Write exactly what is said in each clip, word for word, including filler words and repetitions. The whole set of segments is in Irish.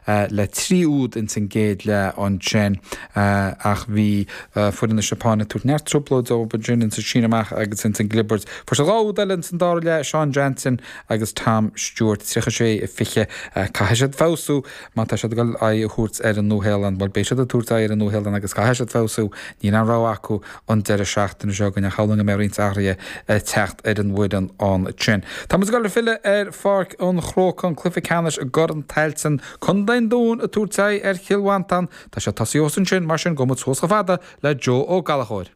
le trí úd ins an gcéad leath ansin ach bhí foireann na Seapáine ag tabhairt neart trioblóid dóibh ansin insa síneadh amach agus ins an gclibirt. Fuair siad dhá úd eile ins an dara leath Sean Jansen agus Tom Stewart tríocha sé a fiche caithfidh siad feabhsú má tá siad ag dul aghaidh a thabhairt ar an Nua-Shéalainn, bhuel beidh siad ag tabhairt aghaidh ar an Nua-Shéalainn agus caithfidh siad feabhsú níl aon rogha acu an deireadh seachtaine seo chugainn shamhlóinn go mbeidh roinnt athruithe ag teacht ar an bhfoireann ansin. Tá muid ag dul ag filleadh ar Pháirc an Chrócaigh an cluiche ceannais i gCorn Tailteann Contae an Dúin ag tabhairt aghaidh ar Chill Mhantáin Tá sé tosaithe thuas ansin mar sin gabhfaidh muid suas chomh fada le Joe Ó Gallchóir.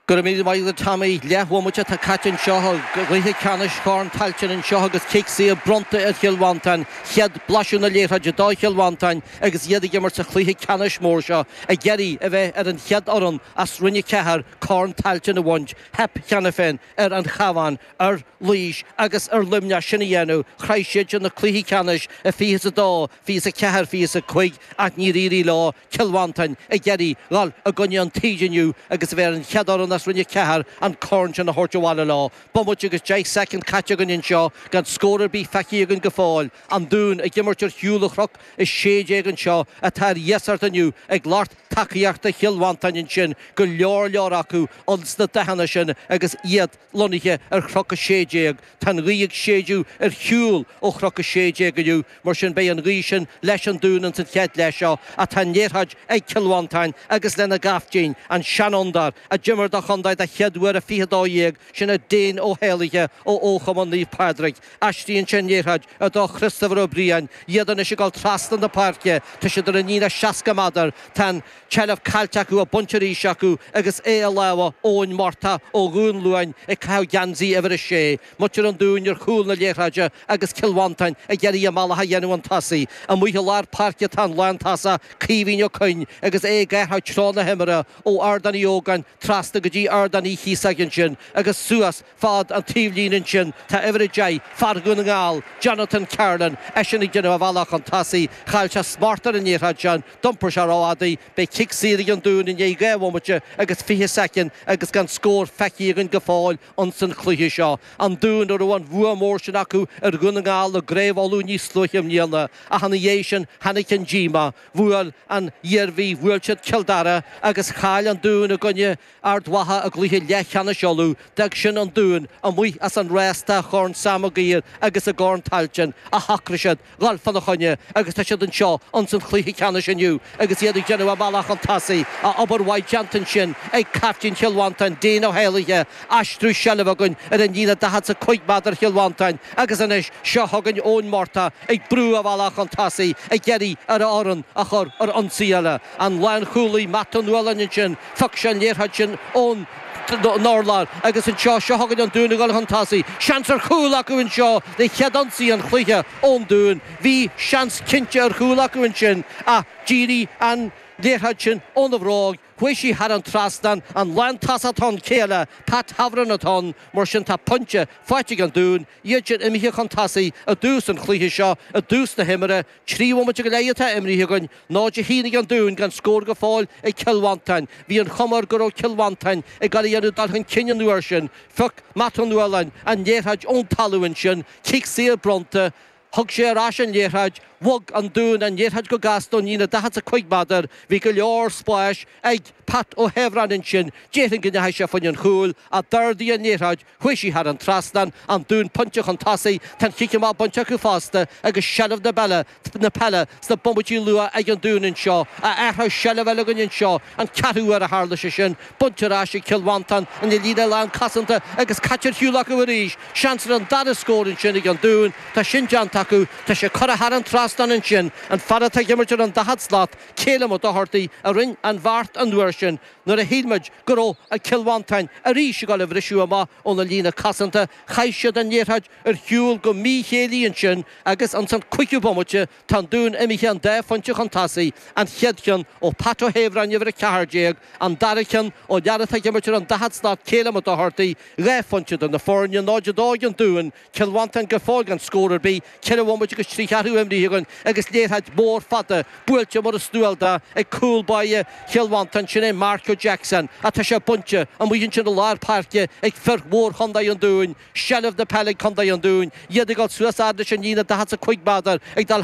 Go raibh míle maith agat Tommy leathbhomaite atá caite anseo i gcluiche ceannais Chorn Tailteann anseo agus cic saor bronnta ar Chill Mhantáin chéad blaiseadh na liathróide do Chill Mhantáin agus iad ag imirt sa chluiche ceannais mór seo ag iarraidh a bheith ar an chéad fhoireann as Roinn a Ceathair Corn Tailteann a bhaint theip cheana féin ar an Chabhán ar Laois agus ar Luimneach sin a dhéanamh shroich siad sin na cluichí ceannais i fiche is a dó fiche is a ceathair fiche is a cúig ach níor éirigh leo Cill Mhantáin ag iarraidh dhul i gcoinne an tsaoil inniu agus a bheith ar an chéad fhoireann as Roinn a Ceathair an corn sin a thabhairt abhaile leo. Bomaite agus deich soicind caite againn anseo gan scór ar bith feicthe againn go fóill. An Dún ag imirt ar shiúl ó Chnoc a sé déag anseo atá ar iasacht inniu ag lucht tacaíochta Chill Mhantáin ansin go leor leor acu ins na dathanna sin agus iad lonnaithe ar Chnoc a sé déag. Tá an ghaoth ag séideadh ar shiúl ó Chnoc a sé déag inniu, mar sin beidh an ghaoth sin leis an Dún ins an chéad leath seo ach tá an liathróid ag Cill Mhantáin agus lena gcaiftín, an seanfhondúir, a d'imir do chontae den chéad uair a fiche dó dhéag, sin é Dane Ó hÉalaithe ó Chumann Naomh Pádraig. Aistríonn sé an liathróid do Christopher Ó Briain, iad anois ag dul trasna na páirce, tá siad ar an líne seasca méadar, tá an tseilbh caillte acu á baint arís acu agus é i lámha Eoin Murtagh ó Dhún Luain ag caitheamh geansaí uimhir a sé. Muintir an Dúin ar chúl na liathróide agus Cill Mhantáin ag iarraidh a mbealach a dhéanamh chun tosaigh. Amuigh i lár páirce tá an lántosach Caoimhín Ó Coinn agus é ag athrú treo na himeartha ó Ardán Uí Ógáin trasna go dtí Ardán Uí Chíosóg ansin agus suas fad an taobhlíne ansin tá uimhir a deich fear Dhún na nGall, Jonathan Carlin, eisean ag déanamh a bhealach chun tosaigh, chaill sé smacht ar an liathróid sin, d'iompair sé rófhada í, beidh cic saor ag an Dún i ndiaidh dhá bhomaite agus fiche soicind agus gan scór feicthe againn go fóill ins an chluiche seo. An Dún a raibh an bua mór sin acu ar Dhún na nGall i gCraobh Uladh níos luaithe i mbliana ach ina dhiaidh sin tháinig an díomá, bhuail an Iarmhí, bhuail siad Cill Dara agus chaill an Dún i gcoinne Ard Mhacha i gcluiche leathcheannais Uladh, d'fhág sin an Dún amuigh as an rás do Chorn Sam Maguire agus i gCorn Tailteann ach shocraigh siad dhul fána choinne agus tá siad anseo ins an chluiche ceannais inniu agus iad ag déanamh a mbealach chun tosaigh ach obair mhaith déanta ansin ag caiftín Chill Mhantáin, Dane Ó hÉalaithe, aistriú seilbhe againn ar an líne daichead is a cúig méadar Chill Mhantáin agus anois seo chugainn Eoin Murtagh ag brú a bhealach chun tosaigh ag iarraidh ar a fhoireann a chur ar ionsaí eile. An lánchúlaí Matt Ó Nualláin ansin, phioc sé an liathróid sin ón urlár agus anseo seo chugainn an Dún ag dul chun tosaigh. Seans ar chúl acu anseo le chéad ionsaí an chluiche ón Dún. Bhí seans cinnte ar chúl acu ansin ach d'éirigh an liathróid sin óna bhróg, chuaigh sí thar an trasnán, an lántosach atá ann céile, Pat Heverin atá ann, mar sin tá pointe faighte ag an Dún, iad sin imithe chun tosaigh i dtús an chluiche seo, i dtús na himeartha, trí bhomaite go leith atá imrithe againn, náid a haon ag an Dún gan scór go fóill ag Cill Mhantáin. Bhí an chuma air go raibh Cill Mhantáin ag dul a dhéanamh dul chun cinn an uair sin. Phioc Matt Ó Nualláin an liathróid ón talamh ansin, cic saor bronnta, Thug sé ar ais an liathróid, bhog an Dún an liathróid go gasta ón líne daichead is a cúig méadar, bhí go leor spáis ag Pat Ó hEibhreáin ansin, déarfainn go ndeachaigh sé fá choinne an chúil, ach d'ardaigh an liathróid, chuaigh sí thar an trasnán, an Dún pointe chun tosaigh, tá an chic amach bainte acu fosta agus seilbh na peile, na peile sna bomaití luath ag an Dún anseo, ach athrú seilbh eile againn anseo, an ceathrú uair a tharla sé sin, bainte ar ais ag Cill Mhantáin ina líne lán cosanta agus caite ar shiúl acu arís, seans ar an dara scór ansin ag an Dún, tá sin déanta acu, tá sé curtha thar an trasnán ansin, an fear atá ag imirt ar an daichead slat, Calum Ó Dochartaigh a rinne an bheart an uair sin nuair a shíl muid go raibh Cill Mhantáin arís ag dul a bhriseadh amach óna líne cosanta, chaith siad an liathróid ar shiúl go míchéillí ansin agus ins an cúigiú bomaite tá an Dún imithe an dá phointe chun tosaigh, an chéad cheann ó Pat Ó hEibhreáin uimhir a ceathair déag, an dara ceann ó fhear atá ag imirt ar an daichead slat Calum Ó Dochartaigh, dhá phointe do na foirne, náid a dó ag an Dún, Cill Mhantáin go fóill gan scór ar bith, ceithre bhomaite agus trí cheathrú imrithe againn agus liathróid mhór fada buailte mar is dual dó ag cúl báire Chill Mhantáin, sin é Marco Jackson ach tá sé bainte amuigh ansin i lár páirce ag fir mhór Chontae an Dúin, seilbh na peile ag Contae an Dúin, iad ag dul suas fhad leis an líne daichead is a cúig méadar ag dul